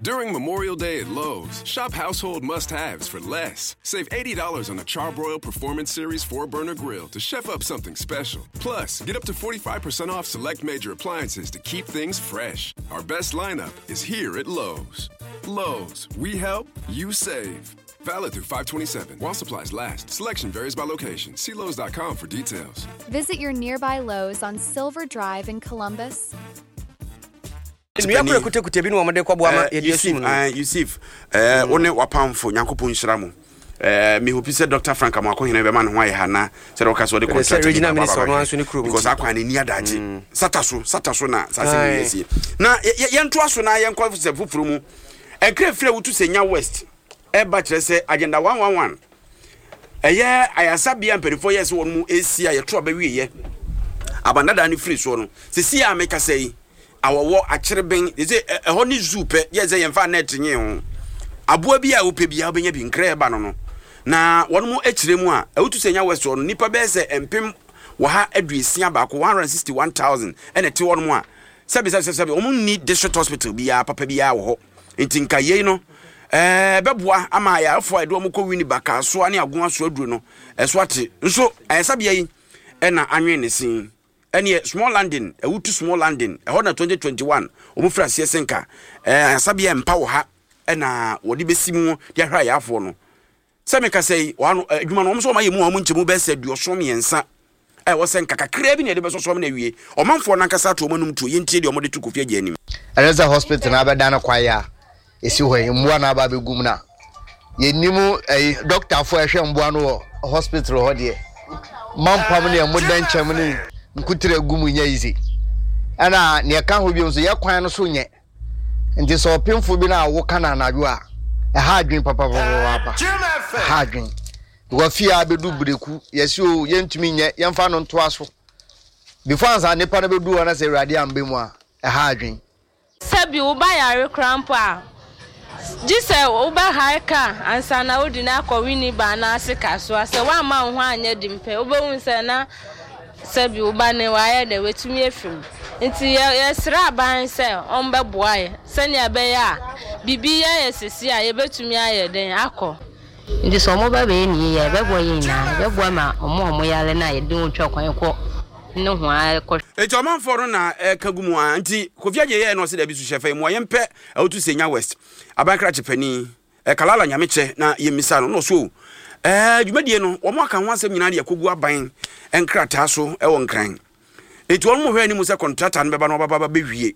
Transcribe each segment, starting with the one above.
During Memorial Day at Lowe's, shop household must haves for less. Save $80 on a Charbroil Performance Series 4 burner grill to chef up something special. Plus, get up to 45% off select major appliances to keep things fresh. Our best lineup is here at Lowe's. Lowe's, we help, you save. Valid through 527 while supplies last. Selection varies by location. See Lowe's.com for details. Visit your nearby Lowe's on Silver Drive in Columbus. Nnua koro kutakuta bi na wɔde kɔboa ma yɛde asum no. Yusuf, eh, wo ne wapamfo Nyankopɔn nhyira mo. Eh, me hope sɛ Dr. Frank Amoakohene bɛma ne ho ayɛ ha na sɛ wɔka sɛ ɔde contract bi regional minister ɔno nso ne kurom because akwan ne ni adagye. Mm. Sata so, sata so na saa sɛ yɛ sie. Na yɛntoa so na yɛnkɔ sɛ foforo mu. Ɛnkra firi a wotu sɛ nya West ɛba kyerɛ sɛ agenda 111 ɛyɛ ayasabea mpanimfoɔ yɛ sɛ wɔn mu esi a yɛto abɛwieɛ abandadaa no firi soɔ no sisi a mekasa yi awɔwɔ, akyereben, te sɛ ɛhɔ ne zoo pɛ, yɛ sɛ yɛmfa net nye ho. Aboa bi a wopɛ biara wobɛnya bi, nkra ɛba no no. Na wɔn mo akyire mu a, ɛwotu sɛ nya west hɔ no, nnipa bɛyɛ sɛ mpem wɔha aduosia baako, 161,000, ɛna ɛte hɔ nom a, sɛbi sɛbi sɛbi wɔn nni district hospital biara papa biara wɔ hɔ. Nti nka yei no, ɛbɛboa ama ayarefoɔ a yɛde wɔn kɔ Winneba, Kasoa ne Agoa so aduro no, ɛso ate. Nso ayasabea yi ɛna anwen ne sin. Ɛneɛ small landing, Awutu small landing, ɛhɔ na 2021 wɔn firi aseɛ sɛ nka ɛɛ asabea mpa wɔ ha ɛna wɔde bɛsi mu de ahwɛ ayafoɔ no. Sɛ meka sɛ yi, wɔn ano adwuma no wɔn nso wɔn ayɛ mu a wɔn nkyɛmu bɛyɛ sɛ 73 a ɛwɔ sɛ nka kakraa bi na yɛde bɛsɔsɔ ama no awie. Ɔmanfoɔ no ankasa ato wɔn anum tuo, yɛntie deɛ wɔde to Kofi Agya anim. Ɛne sɛ hospital no abɛda no kwaeɛ a ɛsi hɔ yi mmoa na aba abɛgu mu no a yɛnim ɛyi dɔktafoɔ a ɛhwɛ mmoa no wɔ hospital hɔ deɛ mampam ne ɛmo dɛnkyɛm ne nkutere gu mu nyɛ easy ɛna nea ɛka ho bio nso yɛ kwan no so nyɛ nti sɛ ɔpemfo bi no a woka no anadwo a ɛha adwene papapapapa ɛha adwene because fie a bɛdu breku yɛsi o yɛntumi nyɛ yɛmfa no ntoa so before ansa nipa no bɛdu hɔ na sɛ awurade amba mu a ɛha adwene. Sɛ bi wo ba yare koraa mpo a, gye sɛ wobɛhire car ansa na wode no akɔ Winneba anaase Kasoa. Sɛ woamma wo ho anyɛ den pɛ, wobɛhu sɛ na sɛ bi wo ba no wayɛ dɛ, watumi afi mu. Nti yɛsrɛ aban sɛ ɔmbɛboa yɛ sɛnea ɛbɛyɛ a biribi yɛ yɛ sɛsi a yɛbɛtumi ayɛ dɛn akɔ. Nti sɛ wɔba bɛyɛ no yie a, ɛbɛboa yɛn nyinaa. Ɛbɛboa ma wɔn a wɔyare no a yɛde wɔn twa kwan kɔ nohoa kɔhwɛ. Enti ɔmanfoɔ no na ɛka gu mu ara. Nti Kofi Adjei yɛɛ na ɔse dabi so hyɛ fa yi mua yɛmpɛ Awutu Senya West aban krakye panin eh, Kalala Nyamekyɛ na yɛmmisa no na ɔse o eh, dwumadie no wɔn aka ho asɛm nyinaa de akɔgu aban nkrataa so wɔ Nkran. Enti wɔn hwɛ anim sɛ kɔntrata no bɛba na wɔbɛba bɛwie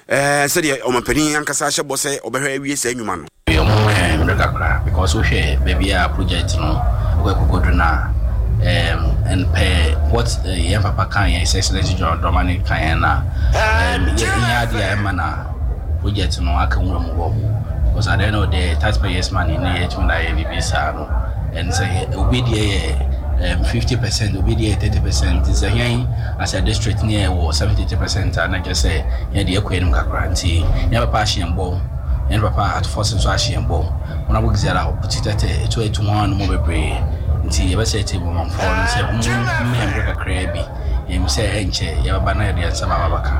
ɛɛ sɛdeɛ ɔmampanin ankasa ahyɛ bɔ sɛ ɔbɛhwɛ awie saa nnwuma no. Ɔmo ma yɛn mmerɛ kakra because wo hwɛ baabi a project no ɛkɔ ɛkɔkɔduru no a um, and per what uh, yɛn papa kan yɛn His Excellency John Dramani kan yɛn na um, yɛ adeɛ a ɛma na project no aka nwura mu hɔ because at the end of the day taxpayers money ne yɛtumi na yɛ biribi saa no and sɛ obi deɛ yɛ 50% obi deɛ yɛ 30% nti sɛ yɛn as a district ne yɛ wɔ 73% a na kyerɛ sɛ yɛn deɛ ɛkɔ anim kakra nti yɛn papa ahyɛ yɛn bɔ yɛn papa Ato Forson nso ahyɛ yɛn bɔ wɔn abɔ gizara ɔti tɛtɛ etu etu ho ano mu bebree nti yɛbɛsɛ ɛte bɔmanfoɔ no sɛ wɔn mmɛn mmerɛ kakraa bi yɛn sɛ ɛnkyɛ yɛbɛba na yɛde yɛn nsa ba abɛka.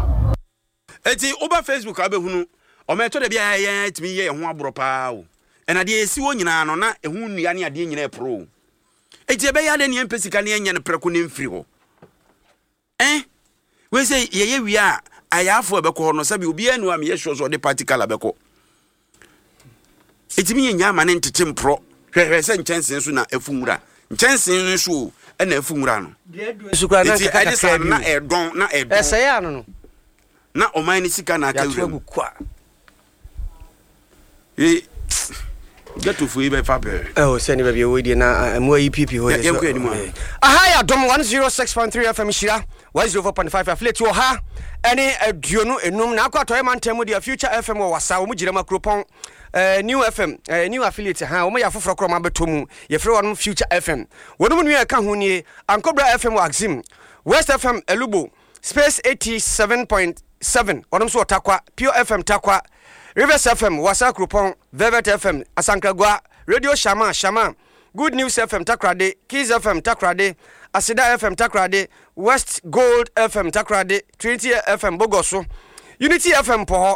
Enti woba Facebook a wobɛhunu ɔma ɛtɔ da bi a yɛn tumi yɛ yɛn ho aborɔ paa o. Ɛna deɛ ɛsi hɔ nyinaa no na ɛho nnua ne adeɛ nyinaa ɛporo o. Enti ɛbɛyɛ adɛn ne yɛmpɛ sika ne yɛnyɛ no prɛko ne mfiri hɔ? Eh? Wei sɛ yɛyɛ wie a ayaafoɔ a ɛbɛkɔ hɔ no sɛbi obiara ni hɔ a meyɛ sure sɛ ɔde party colour bɛkɔ. Ɛtumi yɛ nyaa ma ne ntete mporɔ. Hwɛhwɛ sɛ nkyɛnsee so na afu nwura. Nkyɛnsee no so o ɛna afu nwura no. Eti ɛde saa no na ɛdɔn na ɛdɔn. Ɛsɛe ano no. Na ɔman no sika na aka wura mu. Ee ghetto fo yi bɛfa pɛɛ. Ɛwɔ sɛ ne baabi ɛwɔ yi deɛ na mmoa yi piipii hɔ deɛ. Yɛnkɔ anim a. Aha yɛ Adom 106.3 FM Nhyira 104.5 affiliate wɔ ha ɛne 25 na akɔ atɔeɛ mantam mu deɛ Future FM wɔ Wasa wɔn gyina mu Akuropɔn eh, New FM eh, New affiliate ha wɔn yɛ afoforɔ korɔ wɔn abɛtɔ mu yɛfrɛ wɔn Future FM wɔn mu nua ɛka ho nie Ankobra FM wɔ Axim West FM Elubo Space 87.7 wɔn nso wɔ Tarkwa Pure FM Tarkwa Rivers FM Wasa Akuropɔn Velvet FM Asankragua Radio Shama Shama Good News FM Takoradi, Keys FM Takoradi, Aseda FM Takoradi, West Gold FM Takoradi, Trinity FM Bogoso, Unity FM Mpɔhɔ.